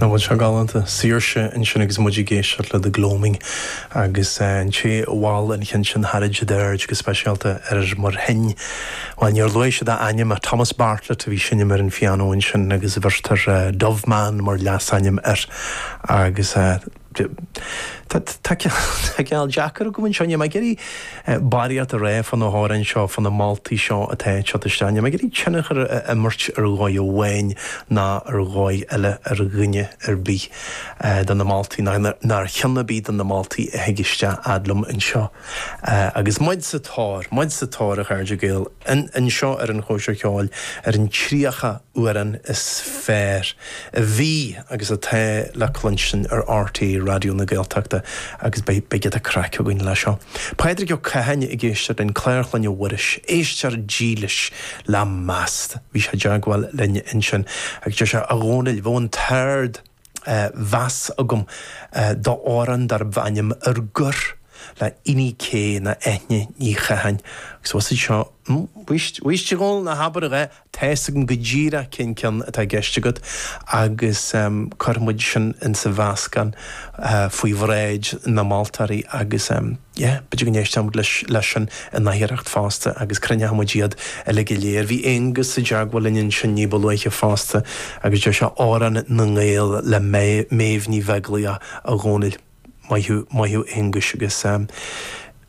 Nach bhfuil sé galánta? Saoirse ansin agus muid ag éisteacht le The Gloaming agus an té a mhol an cheann sin thar d'aird go speisialta ar mar shin, bhuel níor luaigh siad a ainm ach Thomas Bartlett a bhí ag seinm ar an phianó ansin agus bheirtear Doveman mar leasainm air agus Tá cineál deacair agam anseo. Níl mé ag iarraidh barraíocht a rá fá na hamhráin seo, fá na moltaí seo atá ag teacht isteach. Níl mé ag iarraidh tionchar a imirt ar dhóigh amháin ná ar dhóigh eile ar dhuine ar bith de na moltaí, ná ar cheann ar bith de na moltaí a thig isteach fhad liom anseo. Agus muid sa tóir, muid sa tóir a chairde Gael, anseo ar an Chóisir Cheoil ar an 30 amhrán is fearr a bhí agus atá le cluinstin ar RTÉ Raidió na Gaeltachta agus beidh beidh giota craic againn leis seo. Pádraig Ó Catháin ag éisteacht linn, Clár Chlainne Mhuiris, éisteoir dílis le meas. Bhí sé i dteagmháil linn ansin agus deir sé, A Dhónaill, bheadh an t-ard mheas agam d'amhrán darb ainm Ar Gor le Eni Kay nó Eithne Ní Chatháin. Agus bhfuil seo, bhuaist, bhuaist a Dhónaill, ná habair a dhath, Tá fhios agam go díreach cén ceann atá i gceist agat agus cuirfidh muid sin insa mheascán faoi bhráid na moltóirí agus yeah, b'fhéidir go n-éistfidh muid leis sin in oidhreacht fosta agus cruinneoidh muid iad uilig go léir. Bhí Aonghus i dteagmháil linn ansin ní ba luaithe fosta agus deir sé Amhrán na nGael le Méabh Ní Bheaglaoich a Dhónaill. Maith thú, maith thú Aonghuis agus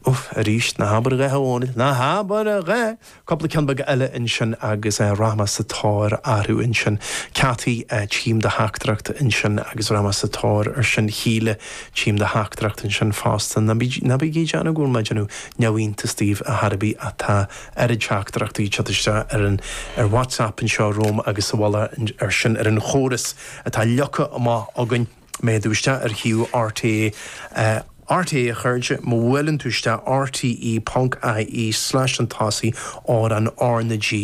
uff, arís, ná habair a dhath a Dhónaill, ná habair a dhath! Cúpla ceann beag eile ansin agus rachaidh mé sa tóir orthu ansin. Cathy, tchím do theachtaireacht ansin agus rachaidh mé sa tóir ar sin. Shíle, tchím do theachtaireacht ansin fosta. Ná bí, ná bígí ag déanamh go bhfuil mé ag déanamh neamhiontas daoibh a chor ar bith ach tá oiread teachtaireachtaí ag teacht isteach ar an, ar WhatsApp anseo romham agus sa mhullach ar sin ar an chóras atá leagtha amach againn. Má théann tú isteach ar shuíomh RTÉ, RTÉ a chairde, má bhuaileann tú isteach rte ponc ie slash an tosaigh amhrán R na G.